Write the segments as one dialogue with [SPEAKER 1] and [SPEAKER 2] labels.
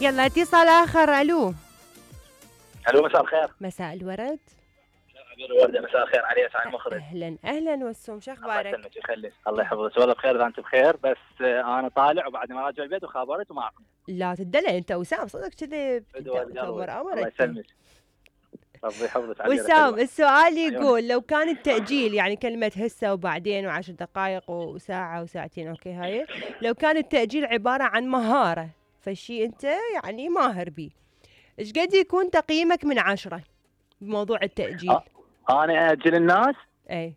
[SPEAKER 1] يلا اتصال آخر. ألو
[SPEAKER 2] مساء الخير.
[SPEAKER 1] مساء الورد.
[SPEAKER 2] الوردة مساء الخير علي اسعد المخرج.
[SPEAKER 1] أهلا والسوم، شو أخبارك؟
[SPEAKER 2] الله يسلمك ويخليك. الله يحفظك والله بخير اذا انت بخير، بس انا طالع وبعد ما راجع البيت وخابرت ومعكم.
[SPEAKER 1] لا تدلع انت وسام، صدق كذب.
[SPEAKER 2] الله يسلمك. ربي يحفظك.
[SPEAKER 1] وسام السؤال يقول لو كان التأجيل يعني كلمة هسه وبعدين و10 دقائق وساعة وساعتين، اوكي هاي لو كان التأجيل عبارة عن مهارة، فشي انت يعني ماهر بيه، ايش قد يكون تقييمك من 10 بموضوع التأجيل؟
[SPEAKER 2] انا اجل الناس؟
[SPEAKER 1] اي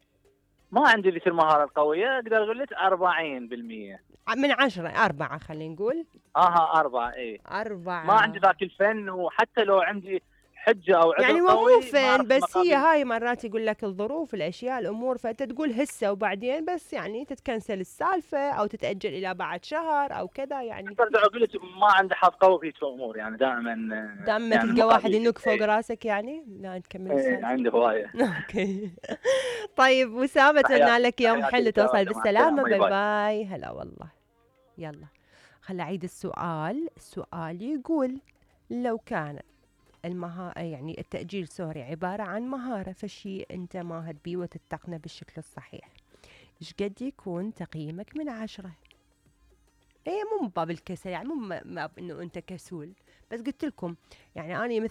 [SPEAKER 2] ما عندي ذيك المهارة القوية، اقدر اقول لك 40%.
[SPEAKER 1] من 10 4 خلينا نقول.
[SPEAKER 2] 4 اي
[SPEAKER 1] 4.
[SPEAKER 2] ما عندي ذاك الفن، وحتى لو عندي حجة او عذر
[SPEAKER 1] يعني
[SPEAKER 2] قوي
[SPEAKER 1] مو فين، بس هي هاي مرات يقول لك الظروف الاشياء الامور، فانت تقول هسه وبعدين، بس يعني تتكنسل السالفه او تتاجل الى بعد شهر او كذا. يعني
[SPEAKER 2] اقدر اقول لك ما عندي حظ قوي في الامور، يعني دائما
[SPEAKER 1] يعني تلقى واحد ينك فوق راسك. يعني لا نكمل السالفه.
[SPEAKER 2] عندي هوايه.
[SPEAKER 1] اوكي طيب وسام، اتمنى لك يوم حلو، توصل بالسلامه. باي باي. هلا والله. يلا خل اعيد السؤال. السؤال يقول لو كان يعني التأجيل عبارة عن مهارة، فشي أنت ماهر بيه وتتقنه بالشكل الصحيح، إيش قد يكون تقييمك من 10؟ إيه مو من باب الكسل، يعني مو ما إنه أنت كسول، بس قلت لكم يعني أنا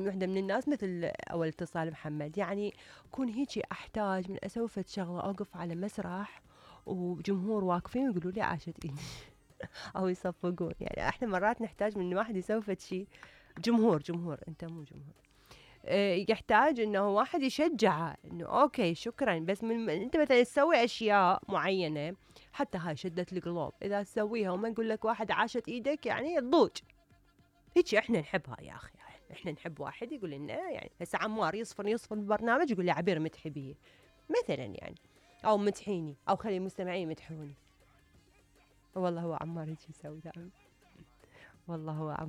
[SPEAKER 1] وحدة من الناس مثل أول اتصال محمد، يعني كون هيجي أحتاج من أسوي فد شغلة، أوقف على مسرح وجمهور واقفين ويقولوا لي عاشت إيدي أو يصفقون. يعني إحنا مرات نحتاج من واحد يسوي فد شيء، جمهور أنت مو جمهور، يحتاج انه واحد يشجعه انه اوكي شكرا، بس انت مثلا تسوي اشياء معينه حتى هاي شدت القلوب، اذا تسويها وما نقول لك واحد عاشت ايدك يعني تضوج. هيك احنا نحبها يا اخي، احنا نحب واحد يقول لنا، يعني هسه عمار يصفن البرنامج يقول لي عبير مدحي بيه مثلا، يعني او مدحيني او خلي المستمعين يمدحوني. والله هو عمار هيك يسوي دائما، والله هو عمار.